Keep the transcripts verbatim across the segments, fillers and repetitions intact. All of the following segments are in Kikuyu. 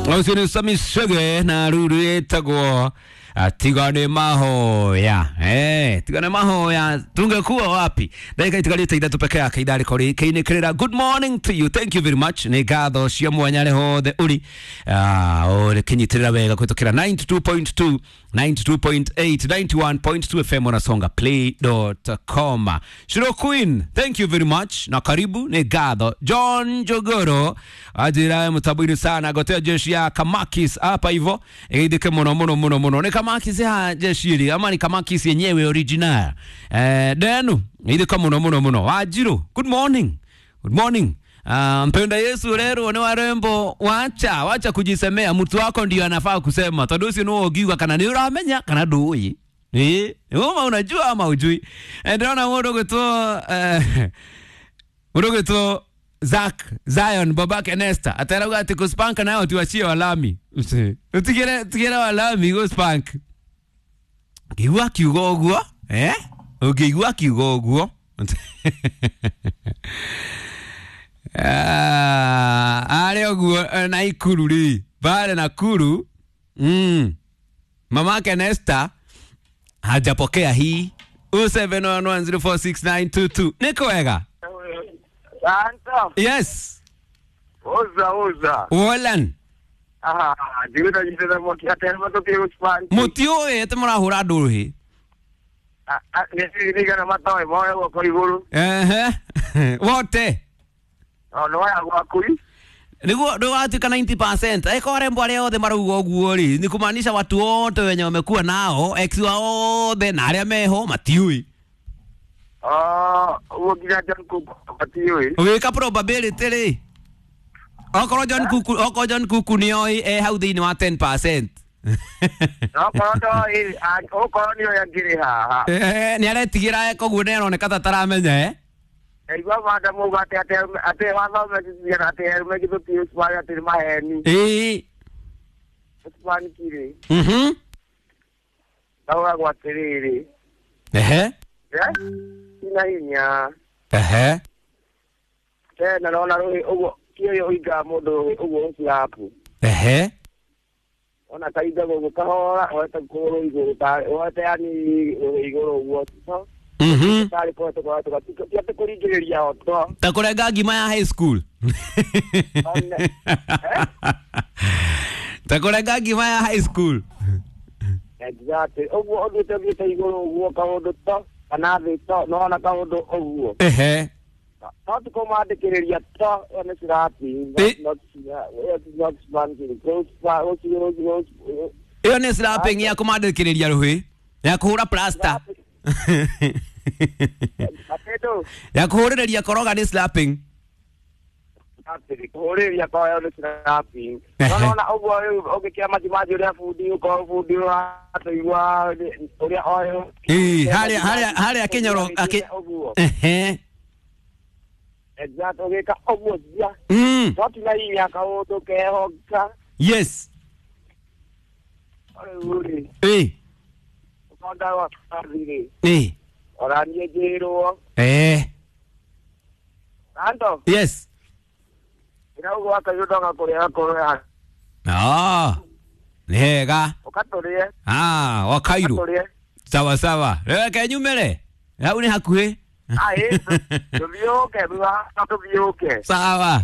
Ucio nĩ Sami Chege na ruru ĩtagwo tigane mahoya. Eh, tigane mahoya tungekuwa wapi? Ndagĩka itigarĩte ithatũ peke yake ithaa rĩkorwo rĩkĩinĩkĩrĩra. Good morning to you, thank you very much. Nĩ ngatho cia mwanya rĩ hothe ũrĩ ah, ũrĩkĩnyitĩrĩra wega kũhĩtũkĩra ninety two point two, ninety two point eight, ninety one point two F M on Songa Play dot com. Shiro Queen, thank you very much na karibu. Nĩ ngatho John Jogoro ajira mũtambo-inĩ sana gotea jeshi ya Kamakis hapa hivyo ĩgeithĩke mũno mũno mũno mũno. Nĩ Kamakis ya jeshi ĩrĩ ama ni Kamakis yenyewe original? Eh, denu ĩgeithĩka mũno mũno mũno. Wanjiru, good morning, good morning. Uh, mpenda Yesu rero ni warembo, wacha wacha kujisemea, mtu wako ndio anafaa kusema tondu ucio no ugiuga kana ni uramenya kana ndui eh uma unajua ama ujui. Ndona mundu gwitwo eh mundu gwitwo Zack Zion babake Nesta atarauga ati kuspank nayo tuachie walami, utigere tigere walami guspank ngiigua kiugo uguo eh ungiigua kiugo uguo. Ah, are uguo na ikuru ri bare Nakuru. Mm. Mamake Nesta hajapokea hii oh seven one one zero four six nine two two. Niko wega? Santa. Yes. Oza oza. Wolan. Ah, ndiguta jitena moki atema to kiu span. Mutio ete murahura nduhi. Ah, ah, ni ni kana matawe moyo wako iguru. Eh eh. Wote. No no ya gwakuri. Niguo ndugatuika ninety percent. Eko arembo aria othe marauga uguo ri ni kumaanisha watu wote wenye wamekuwa nao ex wao othe na aria meho matiui. Ah, uguo nginya John Cook matiui. Wika probability ri. Okorwo John Cook, okorwo John Cook nioi e hau thiini wa ten percent. No korwo ndoi, okorwo nioi angiri haha. Eh, ni aretigira koguo ni aroneka ta taramenya eh. Igua mada muga ate ate ate watho mekithia ate arume githuti ucwari ate ni maheni. Ĩĩ. Ucwani kiri. Mhm. Ndaugagwo atĩrĩrĩ. Ehe. Eh? Ina hinya. Ehe. Tena naona rũhĩ ũguo kĩũyũ ũingaga mũndũ ũguo ũcirapu. Ehe. Ona kaingaga ũguo kahora woete kũgũrũ igũrũ ta woete yani rũhĩ igũrũ ũguo. Mhm. Tari kwa to kwa to ti ate kuringiriria oto. Ta kurenga ngima ya high school. Ta kurenga ngima ya high school. Exactly. Uguo uthiite thiite iguru uguo kaundu to kana thi to no ona kaundu uguo. Ehe. To ti kumandikiriria to ĩyo nĩ slapping. Not not spanking. Go go go. Ĩyo nĩ slapping ya kumandikiriria ruhi ya kuhura plaster. Ya kuhurĩrĩria koroga nĩ slapping. Kuhurĩrĩria koroga nĩ slapping. No no na ũguo rĩu ũngĩkĩra majimaji ũrĩa bundi ũkorwo bundi ũratũigua ũrĩa oyo. Ĩĩ, harĩa harĩa harĩa kĩnyoro akĩ ehe. Exact ũgĩka ũguo cia. Mm. To ti na hinya kaũndũ kehoka. Yes. Rĩu rĩ. Ĩĩ. Ũkonda wa kathirĩ. Ĩĩ. Ona niĩ njĩrwo. Eh. Ando. Yes. Ĩrauga wakaiyũ kũrĩa kũrĩa. Ah. Nĩ hega. Ũkatũrĩe. Ah, wakairũ. Ũkatũrĩe. Sawa sawa. Reke nyumĩre. Hau nĩ hakuhĩ. Ah, ĩ, tũthiũke, thutha tũthiũke. Sawa.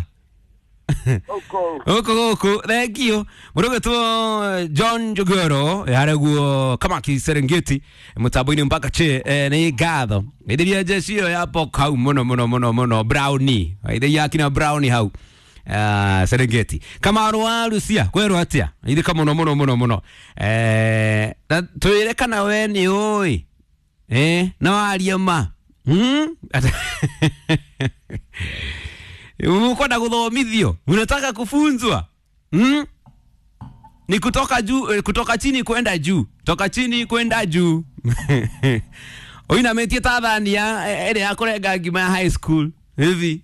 Huko. Huko huko. Thank you. Mũrũgĩtwo John Jogoro yareguo Kamaki Serengeti mũtambo-inĩ mpaka che eh, nĩ ngatho. Ĩthĩria jeshi ĩyo ya pok hau mũno mũno mũno mũno brownie. Ĩthĩria akina brownie hau. Uh, Serengeti. Kamaru wa Lucia kwerwo atia? Ithika mũno mũno mũno mũno. Eh, na twĩre kana we nĩ ũĩ. Eh, na warie ma. Hmm? Umekwenda kuthomithio, unataka kufunzwa. Hmm? Ni kutoka juu, kutoka chini kwenda juu, toka chini kwenda juu. Oina metie Tanzania ere ya kurenga ngima ya high school hivi.